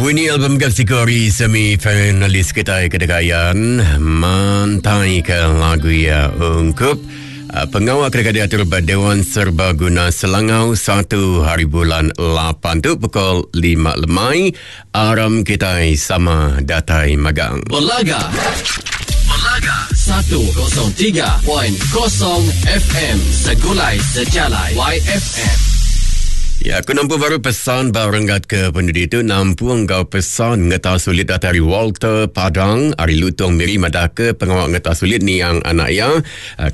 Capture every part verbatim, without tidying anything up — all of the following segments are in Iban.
Winnie album kategori semi finalis kita kedekayan mantai ke lagu ya ungkup pengawal kerja diatur Dewan Serbaguna Selangau satu hari bulan lapan tu pukul lima lemai aram kita sama datai magang. Belaga. Belaga seratus tiga tiga kosong F M Segulai Sejalai Y F M. Ya, aku nampu baru pesan barenggat ke penduduk itu nampu engkau pesan ngeta sulit dari Walter Padang ari Lutong Miri madaka pengawal ngeta sulit ni yang anak ya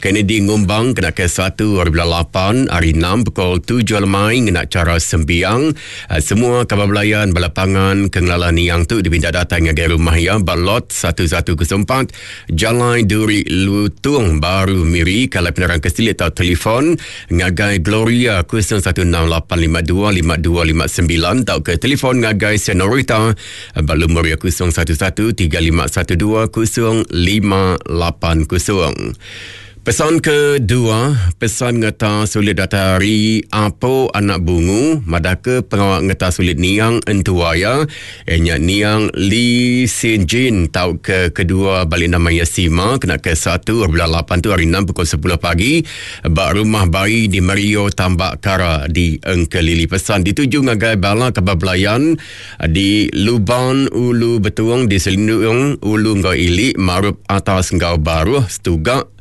Kennedy Ngumbang kena ke satu hari bulan lapan hari enam pukul tujuh lemai ngena cara sembiang. Semua kabar belayan balapangan kengelala niang tu dipinta datang ngagai rumah ya balot satu satu kosong empat Jalan Duri Lutong Baru Miri. Kalau penerang kesilit atau telefon ngagai Gloria kosong satu enam lapan lima dua lima dua lima sembilan atau ke telefon ngagai Senorita balu Maria kosong satu satu tiga lima satu dua kosong lima lapan kosong. Pesan kedua, pesan ngeta sulit datari Apo anak bungu madaka pengawal ngeta sulit niang entuaya enya niang Lee Sin Jin tau ke kedua balik nama Yasima kena ke satu bulan lapan tu hari enam pukul sepuluh pagi bak rumah bayi di Mario Tambak Kara di Engkelili. Pesan dituju ngagai bala kabar belayan di Luban Ulu Betuang di Selindung Ulu Ngau Ili Marup Atas Ngau Baruh Setugak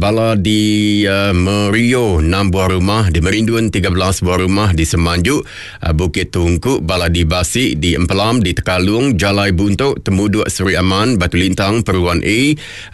bala di uh, Merio enam buah rumah, di Merindun tiga belas buah rumah, di Semanjuk uh, Bukit Tungku, bala di Basik, di Empelam, di Tekalung, Jalai Buntuk, Temuduk Seri Aman, Batu Lintang, Peruan A,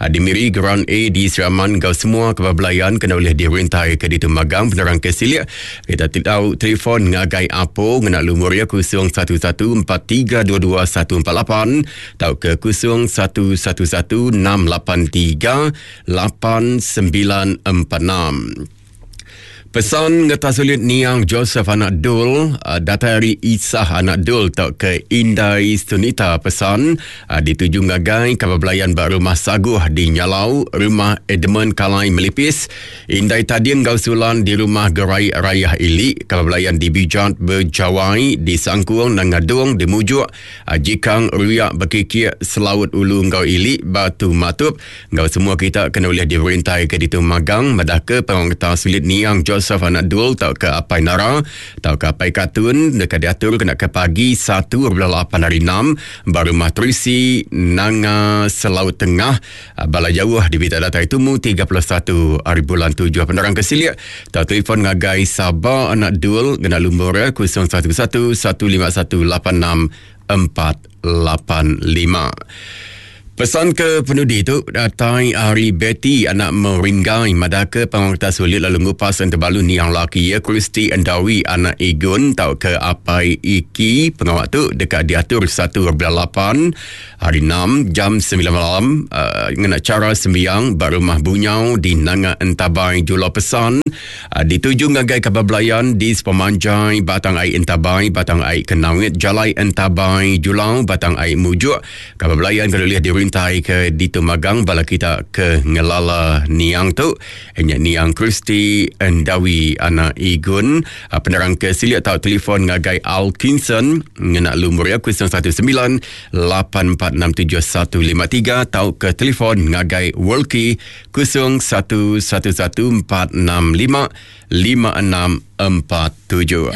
uh, di Miri, Geran A, di Seri Aman. Kau semua kebablayan kena oleh dirintai ke di Tumagang. Penerang ke silik kita tahu telefon ngagai Apo ngena lumur ya kosong satu satu empat tiga dua dua satu empat lapan atau ke kosong satu satu satu enam lapan tiga lapan sembilan empat enam. Pesan ngeta sulit niang Joseph anak Dul data dari Isah anak Dul tak ke Indai Sunita. Pesan dituju ngagai kabar belayan bak rumah Saguh di Nyalau, rumah Edmund Kalai Melipis, Indai Tading Gausulan di rumah Gerai Rayah Ili, kabar belayan di Bijat Berjawai, di Sangkuang Nangadung, di Mujuk, Jikang Ruyak Berkikir Selaut Ulu Ngau Ili, Batu Matup. Ngau semua kita kena boleh dirintai ke di Magang madah ke pengawal sulit niang Joseph anak Dul tau ke Apai Nara tau ke Apai Katun dekat diatur kena ke pagi satu bulan lapan hari enam baru matrisi Nanga Selaut Tengah bala jauh di Bita Data Itumu tiga puluh satu hari bulan tujuh. Penerang kesilik tau telefon ngagai Sabah anak Dul kena lumur kosong satu satu satu lima satu lapan enam empat lapan lima. Pesan ke penudi tu datai Ari Betty anak Meringgai madaka pengawal sulit lalu ngupas enterbalu niang laki ya Kristi Endawi anak Igun tau ke Apai Iki. Pengawal tu dekat diatur satu bulan lapan hari enam jam sembilan malam uh, ngena cara sembiang bar rumah Bunyau di Nanga Entabai Julau. Pesan uh, dituju ngagai kabar belayan di Sepemanjai Batang Ai Entabai, Batang Ai Kenawit, Jalai Entabai Julau, Batang Ai Mujuk. Kabar belayan kalau lihat di rintai ke di Tumagang bala kita ke ngelala niang tu enya niang Kristi Endawi anak Igun. Penerang ke silik atau telefon ngagai Alkinson ngena lumur ya kosong satu sembilan lapan empat enam tujuh satu lima tiga atau ke telefon ngagai Worlki kosong satu satu satu empat enam lima lima enam empat tujuh.